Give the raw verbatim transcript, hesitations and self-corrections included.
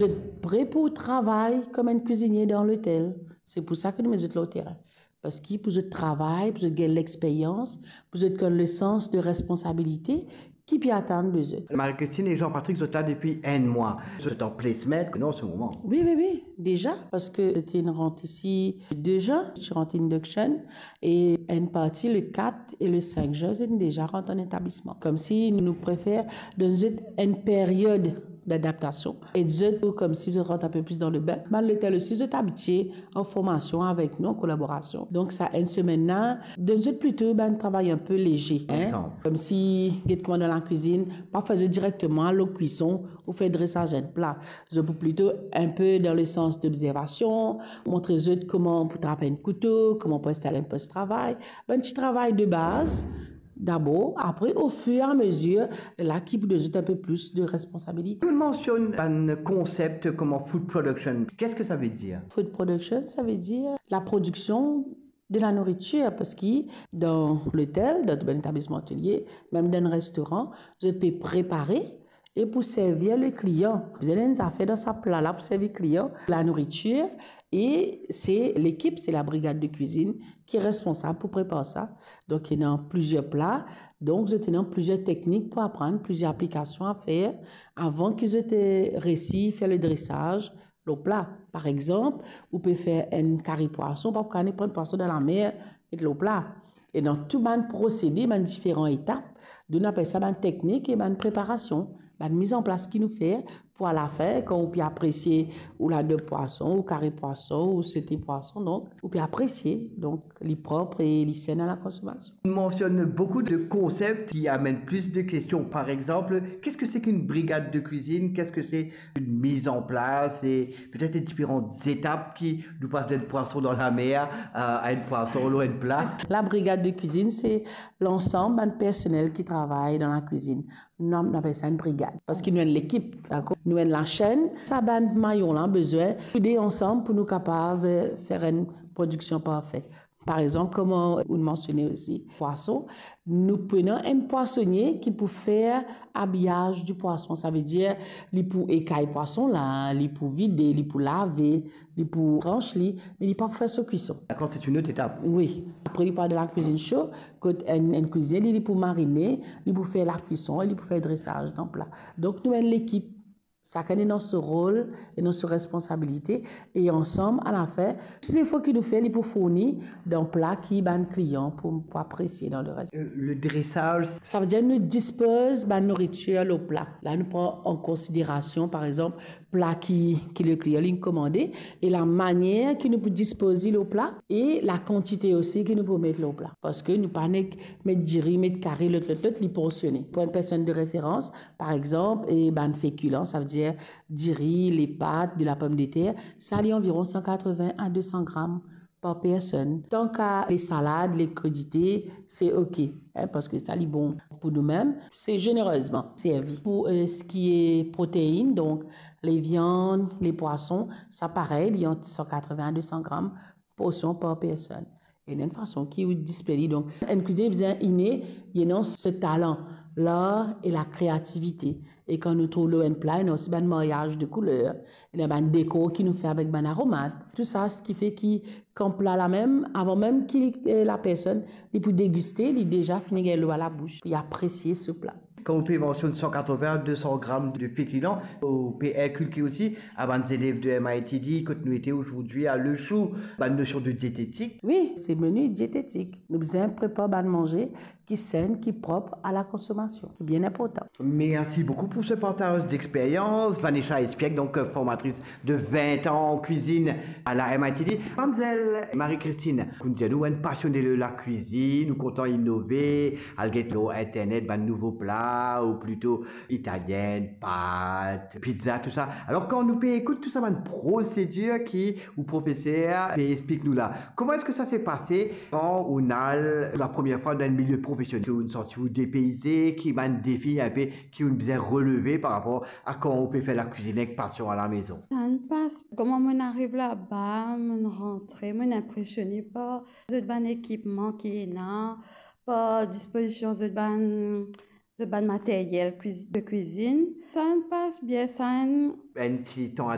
Zot pre pou travay kouma enn kwizinie dan lotel. Se pou sa ki nou met zot lor terin. Parski pou zot travay, pou zot gagn lexperyans, pou zot gagn le sans de responsabilite ki pe atann de zot. Marie-Christine e Jean-Patrick, zot la depi enn mwa. Zot an placement, non, an se moman? Wi, wi, wi, deza, parski zot inn rant isi de zin, ti rant induction, e enn parti le kat e le sink zin, zot inn deza rant an etablisman. Koumsi nou prefer donn zot enn period dadaptasion. E zot, koumsi zot rant enn pe plis dan lebin. Bann lotel osi, zot abitie an formasion avek nou, an kolaborasion. Donk sa enn semenn la, donn zot plito bann travay enn pe leze, hein. Par exanp? Koumsi, get kouma dan lakwizinn, pa fer zot direkteman al lor kwison ou fer dresaz enn pla. Zot pou plito enn pe dan le sans d'observation, montre zot kouma pou trap enn kouto, kouma pou instal enn pos travay. Bann ti travay de baz, dabor, apre, au fur et à mesure, la ki pou donn zot enn pe plis de responsabilite. Ou mansionn bann konsep kouma food production. Qu'est-ce que ça veut dire? Food production, sa ve dir laprodiksion de lanoritir, parski dan lotel, dan tou bann etablisman otelie, mem dan restoran, zot pe prepare e pou servi le klian. Bizin ena enn zafer dan sa pla la pou servi klian, lanoritir, e se lekip, se labrigad de kwizinn ki responsab pou prepar sa. Donk, ena plizier pla, donk zot ena plizier teknik pou aprann, plizier aplikasion a fer avan ki zot, eh, resi fer le dresaz lor pla. Par exanp, ou pe fer enn kari pwason, pa pou kapav pran pwason dan lamer, met lor pla. E dan tou bann prosede, bann diferan etap, nou apel sa bann teknik e bann preparasion, bann miz an plas ki nou fer pou alafin, kan ou pe apresie ou ladob pwason, ou kari pwason, ou sote pwason, donk, ou pe apresie, donk, li prop e li senn a lakonsomasion. Ou mansionn boukou de konsep ki amenn plis de kestion. Par exanp, qu'est-ce que c'est qu'une brigade de cuisine? Qu'est-ce que c'est une mise en place? E petet les différentes étapes ki nou pas d'enn pwason dan lamer, euh, a enn pwason lor enn pla. Labrigad de kwizinn, se lansam bann personel ki travay dan lakwizinn. Nou, nou apel sa enn brigad, parski nou enn lekip, dakor? Nou enn lasenn. Sa bann mayon la bizin soude ansam pou nou kapav, eh, fer enn prodiksion parfe. Par exanp, kouma ou mansione osi, pwason, nou pou ena enn pwasonie ki pou fer abiyaz di pwason. Sa ve dir, li pou ekay pwason la, li pou vide, li pou lave, li pou trans li, me li pa pou fer so kwison. Dakor, c'est une autre étape. Wi. Apre, li pou al dan lakwizinn so, kot enn, enn kwizinie, li, li pou marine, li pou fer lakwison, li pou fer dresaz dan pla. Donk, nou enn lekip. Sakenn ena so rol, ena so responsabilite, e ansam, alafin, tou zefo ki nou fer, li pou fourni dan pla ki bann klian pou, pou apresie dan leres. Euh, le dressage. Sa ve dir nou dispoz bann nouritir lor pla. La, nou pran an konsiderasion, par exanp, pla ki, ki le klian li komande, e lamanier ki nou pou dispoz li lor pla, e lakantite osi ki nou pou met lor pla. Parski nou pa nek met diri, met kari, lot, lot, lot, li porsione. Pou enn personn de referans, par exanp, e bann fekilan, sa ve dir diri, lepat, de la pomdeter, sa li anviron san katreven a de san gram par personn. Tanka le salad, le krudite, se ok, hein, parski sa li bon pou noumem. Se zenerezman servi. Pou, euh, ce qui est protéine, donk, le viann, le pwason, sa parey, li ant san katreven a de san gram porsion par personn. Ena enn fason ki ou displey li. Donk, enn kwizinie bizin ine, li ena so talan, lar e lakreativite. E kan nou trouv lor enn pla, ena osi bann maryaz de kouler, ena bann dekor ki nou fer avek bann aromat. Tou sa, seki fer ki kan pla la mem, avan mem ki, eh, lapersonn li pou degiste, li deza fini gagn lwa labous, pou li apresie so pla. Kan ou pe mansionn san katreven a de san gram de fekilan, ou pe inkilke osi a bann zelev de M I T D, kot nou ete azordi a Le Chou, bann nosion de dietetik. Wi, se meni dietetik. Nou bizin prepar bann manze ki senn, ki prop a lakonsomasion, ki bien inportan. Merci beaucoup pour ce partage d'expérience. Vanessa Espiègue, donc, euh, formatrice de vingt ans en cuisine à la M I T D. Mamzel Marie-Christine, ou dir nou, ou enn pasione de lakwizinn, ou kontan inove, al get lor internet bann nouvo pla, ou plito italienn, pat, pizza, tou sa. Alor, kan nou pe ekout tou sa bann prosedir ki ou profeser pe explik nou la, comment est-ce que ça s'est passé quand ou al la première fois dans le milieu professionnel? Ou santi ou depeyze, ki bann defi inpe ki ou bizin releve par rapor a kan ou pe fer lakwizinn ek pasion a la maison? Sa inn pas, kouma mo'nn ariv laba, mo'nn rantre, mo'nn inpresione par zot bann ekipman ki ena, par dispozision zot bann, zot bann materyel kwiz-, de kwizinn. Sa inn pas bien, sa inn... Enn ti tan